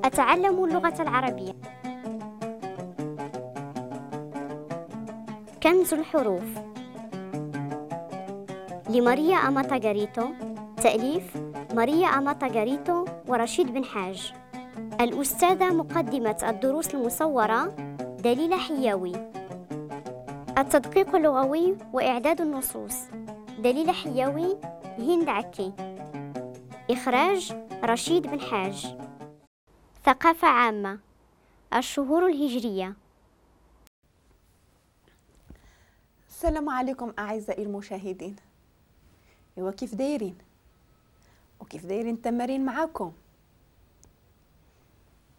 أتعلم اللغة العربية. كنز الحروف لماريا أماتا غاريتو، تأليف ماريا أماتا غاريتو ورشيد بن حاج. الأستاذة مقدمة الدروس المصورة دليلة حياوي. التدقيق اللغوي وإعداد النصوص دليلة حياوي، هند عكي. إخراج رشيد بن حاج. ثقافة عامة، الشهور الهجرية. السلام عليكم أعزائي المشاهدين. إيوا كيف دايرين؟ وكيف دايرين التمارين معاكم؟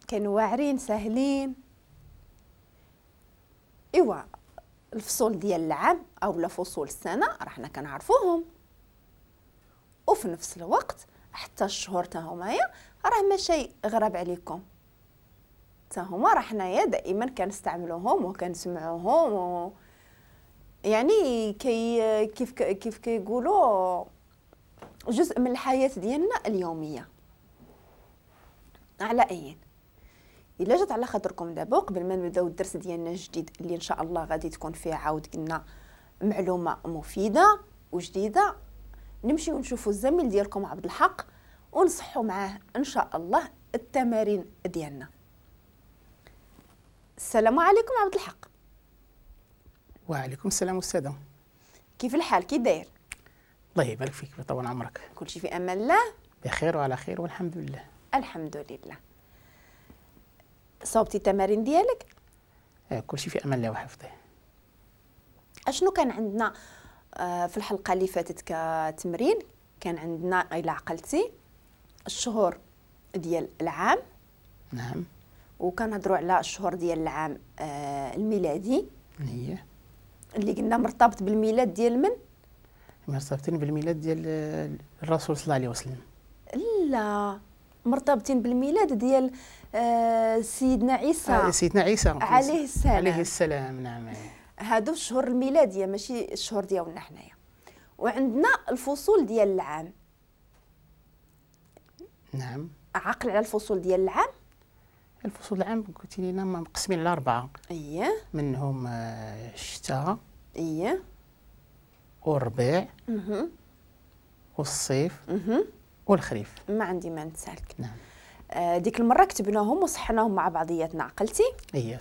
كانوا واعرين ساهلين؟ إيوا الفصول ديال العام أو لا فصول السنة راه حنا كنعرفوهم، وفي نفس الوقت حتى الشهور تا همايا راه ماشي غراب عليكم، تا هما راه حنايا دائما كنستعملوهم وكنسمعوهم يعني كي كيف كيقولوا جزء من الحياة ديالنا اليومية. على أين إلا جات على خاطركم دابا قبل ما نبداو الدرس ديالنا الجديد اللي إن شاء الله غادي تكون فيه عاود قلنا معلومة مفيدة وجديدة، نمشيو نشوفوا الزميل ديالكم عبد الحق ونصحوا معاه إن شاء الله التمارين ديالنا. السلام عليكم عبد الحق. وعليكم السلام أستاذة. كيف الحال؟ كي داير؟ الله يبارك فيك ويطول عمرك. كلشي في أمان الله؟ بخير وعلى خير والحمد لله. الحمد لله. صوبتي التمارين ديالك؟ كلشي في أمان الله وحفظه. أشنو كان عندنا في الحلقة اللي فاتت كتمرين؟ كان عندنا إلا عقلتي الشهور ديال العام. نعم. وكنهضروا على الشهور ديال العام الميلادي. هي اللي قلنا مرتبط بالميلاد ديال من؟ مرتبطين بالميلاد ديال الرسول صلى الله عليه وسلم. لا، مرتبطين بالميلاد ديال سيدنا عيسى. سيدنا عيسى عليه السلام. عليه السلام، نعم. هادو الشهور الميلادية ماشي الشهور ديالنا حنايا. وعندنا الفصول ديال العام. نعم. عقل على الفصول ديال العام؟ الفصول العام قلتي لينا مقسمين على 4. اييه. منهم الشتاء. اييه. والربيع. والصيف. والخريف. ما عندي ما نتسالك. نعم. ديك المرة كتبناهم وصحناهم مع بعضياتنا، عقلتي؟ اييه.